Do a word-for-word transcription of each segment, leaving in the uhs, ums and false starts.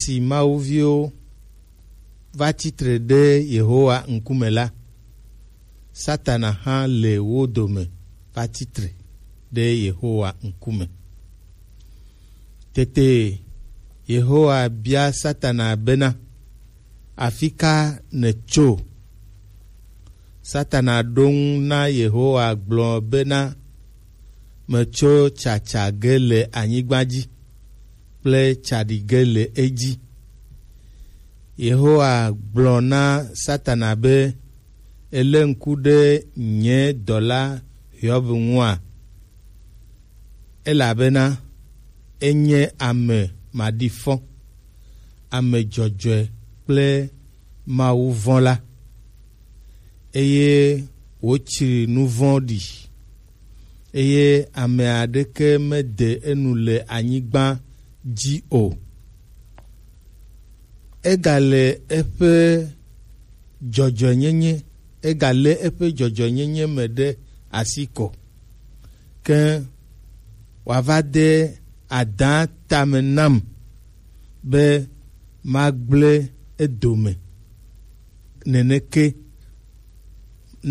Esi Mawu viwo va tsi tre ɖe Yehowa ŋkume la, Satana hã le wo dome va tsi tre ɖe Yehowa ŋkume. Tete Yehowa bia Satana bena, "Afi ka nètso?" Satana ɖo ŋu na Yehowa gblɔ bena, "Metso tsatsa ge le anyigba dzi kple tsaɖi ge le edzi." Yehowa gblɔ na Satana be, "Èlé ŋku ɖe nye dɔla Hiob ŋua? Elabena enye ame maɖifɔ, ame dzɔdzɔe kple Mawu vɔ̃la, eye wòtsri nu vɔ̃ ɖi, eye ame aɖeke mede enu le anyigba dzi o. Egale eƒe dzɔdzɔenyenye, egalé eƒe dzɔdzɔenyenye me ɖe asi ko, ke wòava de adã tame nam be magblẽ edome neneke,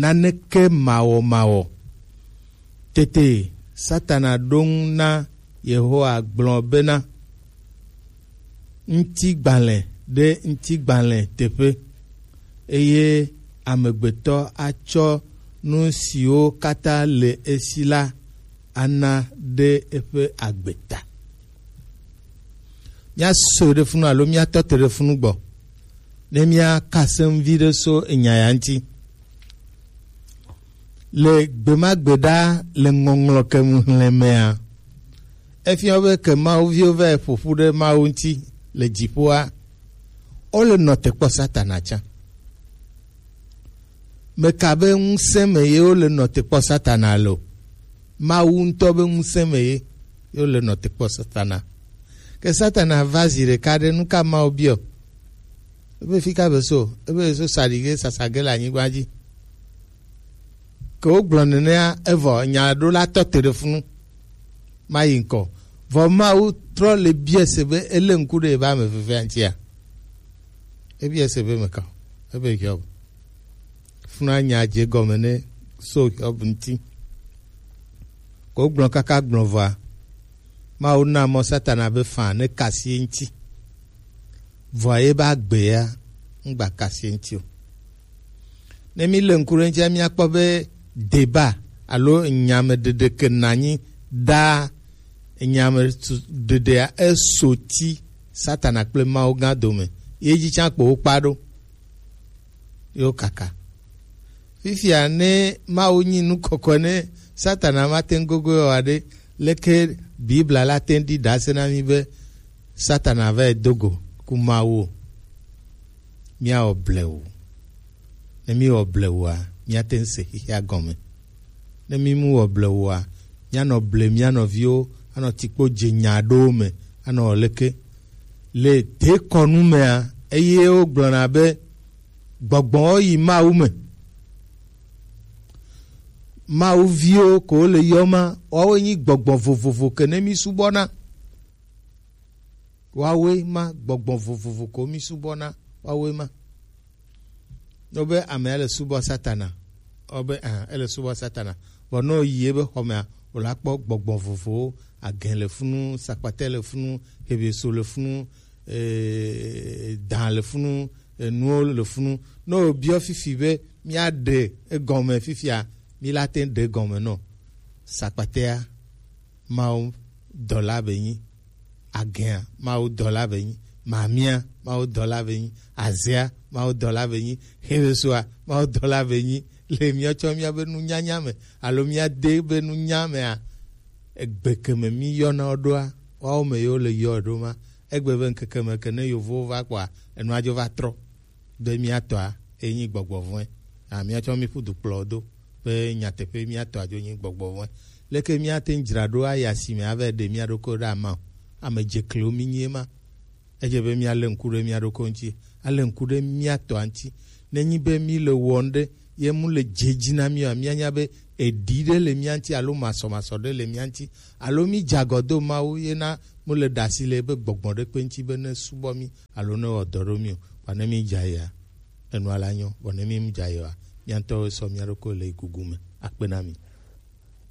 naneke mawɔmawɔ." Tete Satana ɖo ŋu na Yehowa gblɔ bena, "Ŋutigbalẽ ɖe ŋutigbalẽ teƒe, eye amegbetɔ atsɔ nu siwo katã le esi la ana ɖe eƒe agbe ta." Míaso ɖe funu alo míatɔ te ɖe funu gbɔ ne míaka se ŋu viɖe so enya ya ŋuti. Le gbe ma gbe ɖa le ŋɔŋlɔ ke ŋu xlẽ mea, efia be ke Mawu viwo va ƒo ƒu ɖe Mawu ŋuti le dziƒoa, wole nɔ te kpɔ Satana tsã. Meka be ŋusẽ me ye wole nɔ te kpɔ Satana lo? Mawu ŋutɔ be ŋusẽ me ye, ye wole nɔ te kpɔ Satana. Ke Satana va zi ɖeka ɖe, nu ka Mawu biɔ? Ebe fi ka be so? Ebe so saɖi ge, sasa ge le anyigba dzi. Ke wogblɔ nenea, evɔ nya ɖo la tɔ te ɖe funu. Mayi ŋkɔ. Vɔ Mawu trɔ le bia se be ele ŋku ɖe ebe ame vevia ŋutia. Ebia se be meka. Ebe Hiob. Funa nya dze gɔme ne so Hiob ŋuti. Ko gblɔ kaka gblɔ vɔa, Mawu na mɔ Satana be faa ne kasi ye ŋuti. Vɔa ye be agbe ya ŋgba kasi ye ŋuti o. Ne mi le ŋku ɖe ŋutia, miakpɔ be deba alo nyameɖeɖe ke nanyi ɖaa, nyameɖeɖea eso ti Satana kple Mawu gã dome. Ye dzi tsã kpo wokpa ɖo. Yo kaka. Fifia ne Mawu nyi nu kɔkɔe ne Satana mate ŋu gogo wa ɖe, leke Biblia la te ŋu ɖi ɖase na mi be Satana va yi do go ku Mawu o? Míawɔ blewu. Ne míwɔ blewua, míate ŋu se xexea gɔme. Ne mímu wɔ blewua, míanɔ ble mía nɔviwo, anɔ tikpo dze nya aɖewo me, anɔ wɔ leke? Le dekɔnu mea, eye wogblɔna be gbɔgbɔwo yi Mawu me. Mawu viwo ko le yɔma, woawoe nyi gbɔgbɔ vovovo ke ne mí subɔna. Woawoe ma, gbɔgbɔ vovovo ko mí subɔna, woawoe ma. Ne wobe amea le subɔ Satana, wobe ah, ele subɔ Satana. Vɔ ne woyi ebe xɔmea, wòla kpɔ gbɔgbɔ vovovowo, agɛ le funu, sakpatɛ le funu, hebeso le funu, eh, dan le funu, enuwo le funu. Ne wobiɔ fifi be míaɖe egɔme fifia, míla te ɖe egɔme nɔ. Sakpatɛa, Mawu dɔla be nyi. Agɛa, Mawu dɔla be nyi. Mamia, Mawu dɔla be nyi. Azea, Mawu dɔla be nyi. Hebesoa, Mawu dɔla be nyi. Le míatsɔ míabe nunyanya me alo míade be nunya mea, egbe ke me míyɔna wo ɖoa, woawo me yewo le yɔ ɖo ma. Egbe be ŋkeke me ke ne yevowo va kpɔa, enua dzo va trɔ. Be míatɔa enyi gbɔgbɔ vɔ̃e. A, míatsɔ mí ƒu du kplɔ do be nyateƒe míatɔa dzo nyi gbɔgbɔ vɔ̃e. Leke míate ŋu dzra ɖo ayi asime ava ɖe mía ɖokui ɖe ama o? Ame dzekliwo mí nyi ema. Edze be míalé ŋku ɖe mía ɖokui ŋuti, alé ŋku ɖe mía tɔa ŋuti. Nenyi be mí le wɔm ɖe ye mu le dze dzi na mí oa, míanya be eɖi ɖe le mía ŋuti alo masɔmasɔ ɖe le mía ŋuti, alo mí dze agɔ do Mawu ye na mu le ɖe asi le ebe gbɔgbɔ ɖe kpe ŋuti be ne subɔ mí alo ne wɔ dɔ ɖo mí o, vɔ ne mí dza yea, enua la nyɔ, vɔ ne mí dza yea, mía ŋutɔwo sɔ mía ɖokui le gugu me. Akpe na mi.